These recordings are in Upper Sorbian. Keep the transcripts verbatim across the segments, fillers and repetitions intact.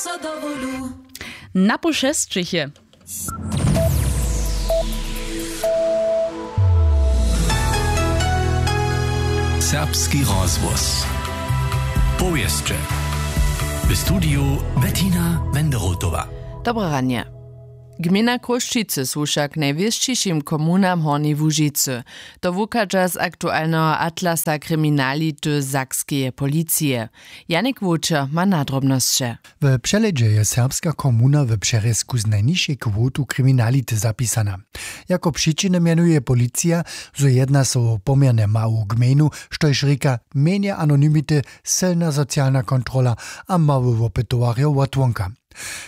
So do wolu. Na pół šesćich je. Serbski rozhłos. Powěsće. W studiju Bettina Wenderotowa. Dobre ranje. Gmejna Chrósćicy su wšak najwěsćišim komunam Hornjeje Łužicy. To wuchadźa z aktualneho atlasa kriminality sakskeje policije. Janik Wóčer ma nadrobnosće. W přehlědźe je serbska komuna w přerězku z najnižšej kwotu kriminality zapisana. Jako přičiny mjenuje policija, zo jedna so wo poměrnje mału gmejnu, štož rěka mjenje anonymity, sylna socialna kontrola a mały wopytowarjo wotwonka.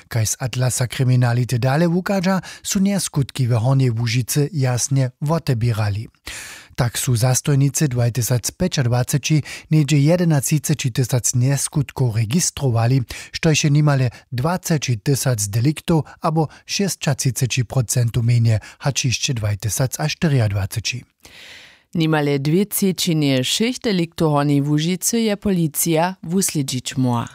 Kaž z atlasa kriminality dale wuchadźa, su njaskutki w Hornjej Łužicy jasnje woteběrali. Tak su zastojnicy dwajtysacpjećadwaceći něhdźe jedenatřiceći tysac njeskutkow registrowali, štož je nimale dwaceći tysac deliktow abo šěsćatřiceći procentow mjenje hač hišće dwajtysacaštyriadwaceći. Nimale dwě třećinje wšěch deliktow Hornjeje Łužicy je policija wuslědźić móhła.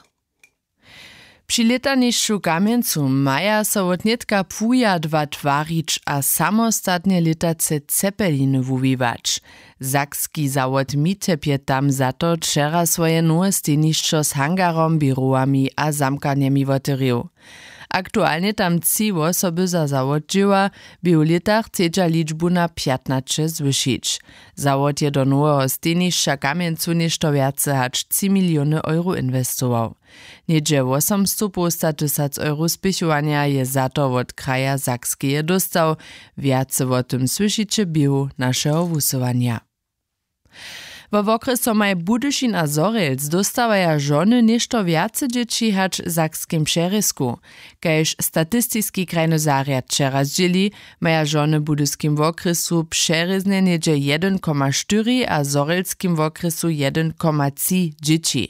Při lětanišću w Kamjencu maja so wot nětka płuja dwa twarić a samostatnje lětace cepeliny wuwiwać. Sakski zawod Mitep je tam za to wčera swoje nowe stejnišćo z hangarom, běrowami a zamkarnjemi wotewrěł. Aktualnje tam tři wosoby za zawod dźěła, bě w lětach chcedźa ličbu na pjatnaće zwyšić. Zawod je do noweho stejnišća w Kamjencu něšto wjace hač tři miliony euro inwestował. Něhdźe wosomstow połsta tysac euro spěchowanja je za to wot kraja Sakskeje dóstał, wjace wo tym słyšiće w běhu našeho wusyłanja. Wo wokrjesomaj Budyšin a Zhorjelc dóstawaja žony něšto wjace dźěći hač w sakskim přerězku. Kaž statistiski krajny zarjad wčera zdźěli, maja žony w Budyskim wokrjesu přerěznje něhdźe jedyn koma štyri a w Zhorjelskim wokrjesu jedyn koma tři dźěći.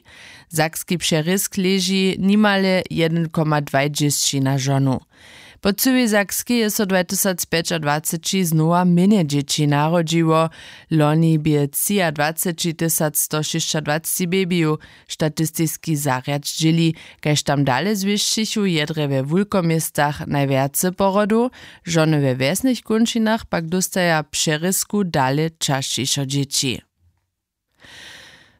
Sakski přerězk leži nimale jedyn koma dwaj dźěsći na žonu. Po cyłej Sakskej je so dwajtysacpjećadwaceći znowa mjenje dźěći narodźiło. Loni bě třiadwaceći tysac sto šěsćadwaceći bebiju, statistiski zarjad zdźěli. Kaž tam dale zwěsćichu, je drje we wulkoměstach najwjace porodow, žony we wjesnych kónčinach pak dóstaja w přerězku dale časćišo dźěći.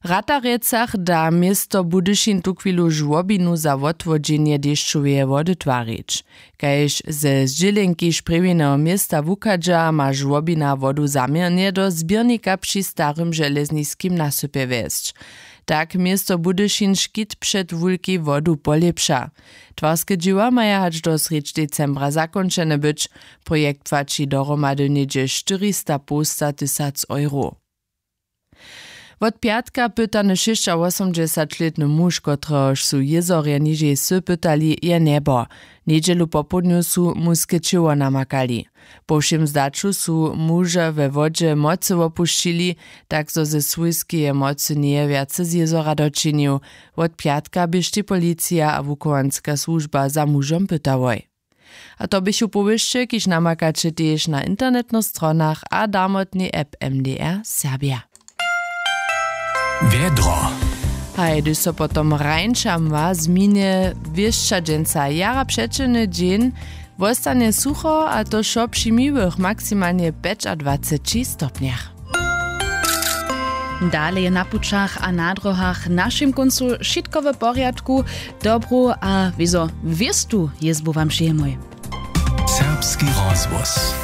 W Ratarjecach da město Budyšin tuchwilu žłobinu za wotwodźenje dešćoweje wody twarić. Kaž ze zdźělenki sprjewjeneho města wuchadźa, ma žłobina wodu zaměrnje do zběrnika při starym železniskim nasypje wjesć. Tak město Budyšin škit před wulkej wodu polěpša. Twarske dźěła maja hač do srjedź decembra zakónčene być. Projekt płaći dohromady něhdźe štyrista połsta tysac euro. Wot pjatka pytany šěsćawosomdźesaćlětny muž, kotrehož su jězorje nižej wsy pytali, je njebo. Njedźelu popołdnju su muske ćěło namakali. Po wšěm zdaću su muža we wodźe mocy wopušćili, tak zo ze swójskeje mocy njeje wjace z jězora dočinił. Wot pjatka běštej policija a wuchowanska słužba za mužom pytałoj. A to běchu powěsće, kiž namakaće tež na internetnych stronach a damotnej app M D R Serbja. Wjedro. Haj, hdyž so potom rańšam wa změnje wěšća dźensa jara přećelny dźeń, wostanje sucho, a to wšo při miłych maksimalnje pjećadwaceći stopnjach. Dale je na pućach a na dróhach w našim kóncu wšitko w porjadku. Dobru a wězo wěstu jězbu wam přejemoj. Serbski rozhłos.